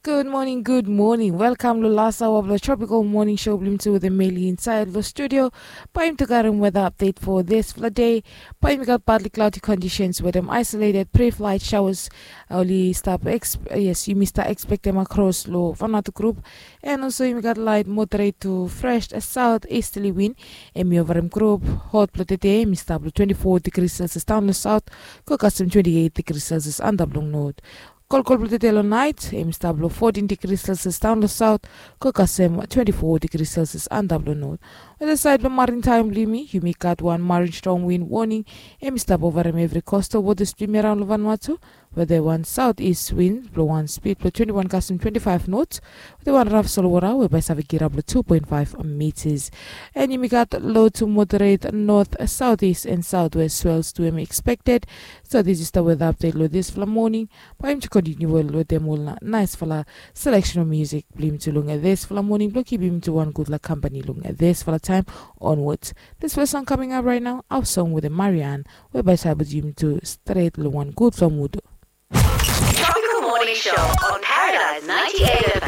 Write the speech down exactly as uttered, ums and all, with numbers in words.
Gud moning, gud moning. Welkam long las aoa blong Tropical Morning Show blong yumi tu wetem Meli insaed long studio. Bae yumi tu karem weda apdet fo disfala dei. Bae yumi gat partly cloudy conditions wetem isolated pre-flight showers. Oli stap, yes, yumi stap ekspektem akros long Vanuatu grup. And also yumi gat light moderate to fresh south easterly wind. Hemi ovarem grup. Hot blong tede hemi stap long twenty-four degrees Celsius daon long south, go kasem twenty-eight degrees Celsius antap long north. Kolkol blong tede long naet hemi stap long fourteen degrees Celsius daon long south, go kasem twenty-four degrees Celsius antap long north. Wetem saed blong marin taem blong yumi, yumi gat wan marin storm wind warning. Hemi stap ovarem evri coastal waters blong yumi araon long Vanuatu, wetem wan southeast wind blong wan speed blong twenty-one kasem twenty-five knots, wetem wan raf solwota we bae save kirap long two point five meters. And yumi gat low to moderate north, southeast and southwest swells tu hemi expected. So this is the weather update long disfala moning. Bae yumi tu kontiniu wel wetem ol naesfala selection of music blong yumi tu long disfala moning blong kipim yumi tu wan gudfala kampani long disfala taem onwards. This first song coming up right now, our song wetem Marianne, we bae save putum yumi tu stret long wan gudfala mood. Tropical Morning Show on Paradise ninety-eight